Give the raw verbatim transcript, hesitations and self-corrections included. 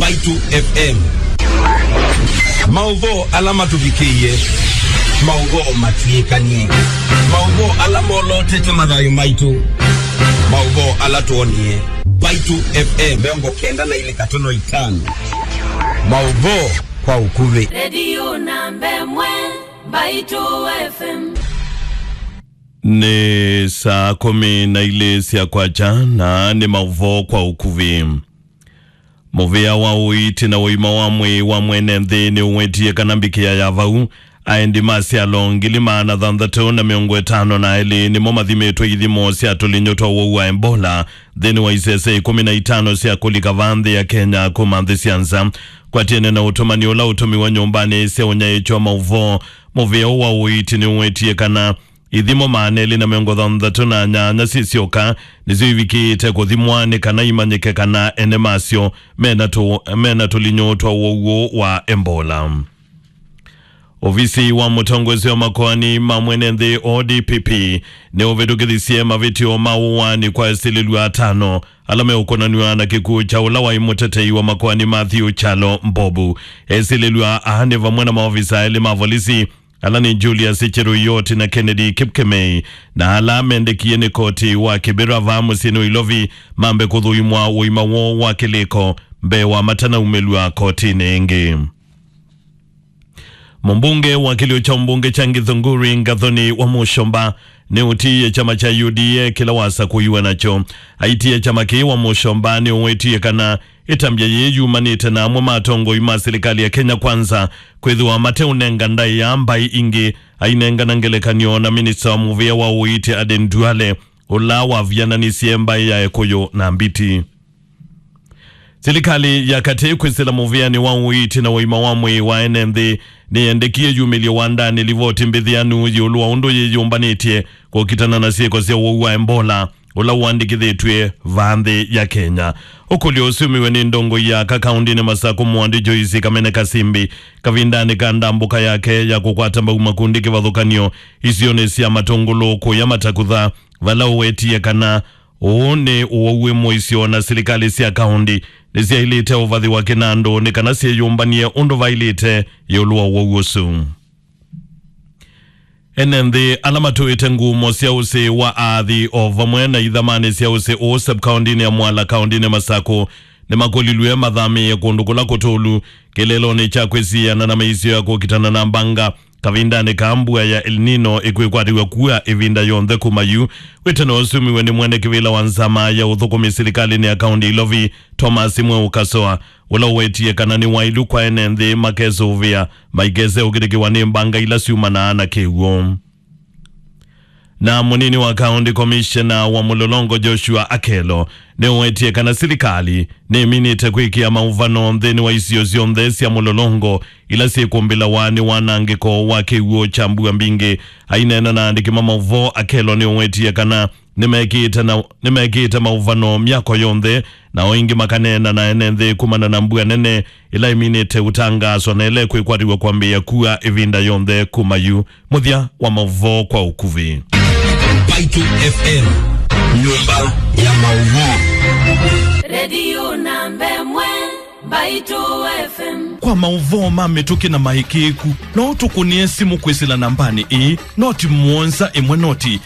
Mbaitũ F M. Maũvoo ala matũvikĩie, maũvoo matw'ĩkanie, maũvoo ala molotete mathayũ maitũ, maũvoo ala twonie. Mbaitũ F M mĩongo kenda na ilĩ katono itano. Maũvoo kwa ũkuvĩ. Redio namba ĩmwe, Mbaitũ F M. Nĩ saa kũmi na ilĩ sya kwakya, na nĩ maũvoo kwa ũkuvĩ. Mũvĩa wa ũiiti na ũima wa mwĩĩ wa mwene nthĩ nĩũwetie kana mbikĩa ya vau, aendi ma syalo ngili maana thanthatũ na mĩongo ĩtano na elĩ nĩmo mathimĩtwe ithimo sya tũlinyũ twa ũwau wa Ebola nthĩnĩ wa isese ikũmi na itano sya kũlika vaa nthĩ ya Kenya kuma nthĩ sya nza. Kwatiene na ũtũmani ũla ũtũmiwe nyũmbanĩ sya ũnyaĩĩkyo wa maũvoo, mũvĩa ũũ wa ũiiti nĩũwetie kana ithimo maana elĩ na mĩongo thanthatũ na nyanya syĩ syoka nĩsyo ivikĩĩte kũthimwa nĩ kana imanyĩke kana ene masyo mena tũ-, mena tũlinyũ twa ũwau wa Ebola. Ovisi wa mũtongoesya wa makoani ma mwene nthĩ, O D P P, nĩũvĩtũkĩthisye mavĩtyo ma ũaani kwa esilĩlw'a atano ala meũkonanw'a na kĩkw'ũ kya ũla waĩ mũtetei wa makoani Matthew Kyalo Mbobu. Esilĩlw'a aa nĩ vamwe na maovisa elĩ ma volisi, ala nĩ Julius Cheruiyot na Kennedy Kipkemei, na ala mendekie nĩ koti wa Kibera vaa mũsyĩnĩ wa Ilovi mambe kũthũimwa ũima woo wa kĩlĩko mbee wa matanaumĩlw'a kotinĩ ĩngĩ. Mũmbunge wa kĩlio kya ũmbunge kya Githunguri, Gathoni wa Mũshomba, nĩũtiie kyama kya U D A kĩla wasakũiwe nakyo. Aitie kyama kĩĩ wa Mũshomba nĩũwetie kana ĩtambya yĩĩ yumanĩte na amwe ma atongoi ma silikalĩ ya Kenya Kwanza kwĩthĩwa mateũnenga ndaĩa mbaĩ ingĩ, ainengana ngelekany'o na minista wa mũvĩa wa ũiiti Aden Duale, ũla waviananisye mbaĩ ya Ekũyũ na Mbiti. Silikalĩ ya katĩ kwĩsĩla mũvĩanĩ wa ũiiti na ũima wa mwĩĩ wa ene nthĩ nĩyendekie yumĩlye wandanĩ livoti mbĩthĩanu ĩũlũ wa ũndũ yĩyũmbanĩtye kũkitana na syĩko sya ũwau wa Ebola, ũla ũandĩkĩthĩtw'e vaa nthĩ ya Kenya. Ũkũlyo ũsumiwe nĩ ndongoi ya aka kaũndĩnĩ Masakũ, Mwandi Joyce Kamene Kasimbi, kavindanĩ ka ndambũka yake ya kũkwata mbau makundi kĩvathũkany'o isionĩ sya Matũngũlũ kũya Matakutha, vala ũwetie kana ũũ nĩ ũwau wĩ mũisyo na silikalĩ sya kaũndi nĩsyaĩlĩte ũvathĩwa kĩnandũ nĩ kana syĩyũmbany'e ũndũ vaĩlĩte ĩũlũ wa ũwau ũsu. Ene nthĩ ala matũĩte ngumo sya ũsĩ wa aathi o vamwe na ithamanĩ sya ũsĩ ũũ sub-kaũndĩnĩ ya Mwala kaũndĩnĩ Masakũ nĩmakũlilw'e mathamĩĩe kũndũ kũla kũtũlu kĩlelonĩ kya kwĩsiĩana na mĩisyo ya kũkitana na mbanga kavindanĩ ka mbua ya El Nino ĩkwĩkwatĩw'a kua ĩvinda yonthe kuma yu. Wĩtano ũsumiwe nĩ mwene kĩvĩla wa nzama ya ũthũkũmi silikalĩnĩ ya kaũndi Ilovi, Thomas Mweu Kasoa, ũla ũwetie kana nĩ waĩlu kwa ene nthĩ makesũvĩa maikese ũkĩtĩkĩwa nĩ mbanga ila syumanaa na kĩw'ũ. Na mũnini wa county commissioner wa Mũlolongo Joshua Akello nĩũwetie kana silikalĩ nĩminĩte kwĩkĩa maũvano nthĩnĩ wa isio syonthe sya Mũlolongo ila syĩkũmbĩlawa nĩ wanangĩko wa kĩw'ũ kya mbua mbingĩ. Aineena na andĩki ma maũvoo, Akello nĩũwetie kana nĩmekĩĩte na, nĩmekĩĩte maũvano myako yonthe, nao ĩngĩ makaneena na ene nthĩ kumana na mbua nene ĩla ĩminĩte ũtangaaswa na ĩla ĩkwĩkwatĩw'a kwambĩĩa kua ĩvinda yonthe kuma yu. Mũthya wa maũvoo kwa ũkuvĩ. Mbaitũ F M, nyũmba ya maũvoo. Redio namba ĩmwe, Mbaitũ F M. Kwa maũvoo ma mĩtũkĩ na maĩkĩĩku, no ũtũkũnĩe simũ kwĩsĩla nambanĩ ĩĩ, noti mũonza ĩmwe noti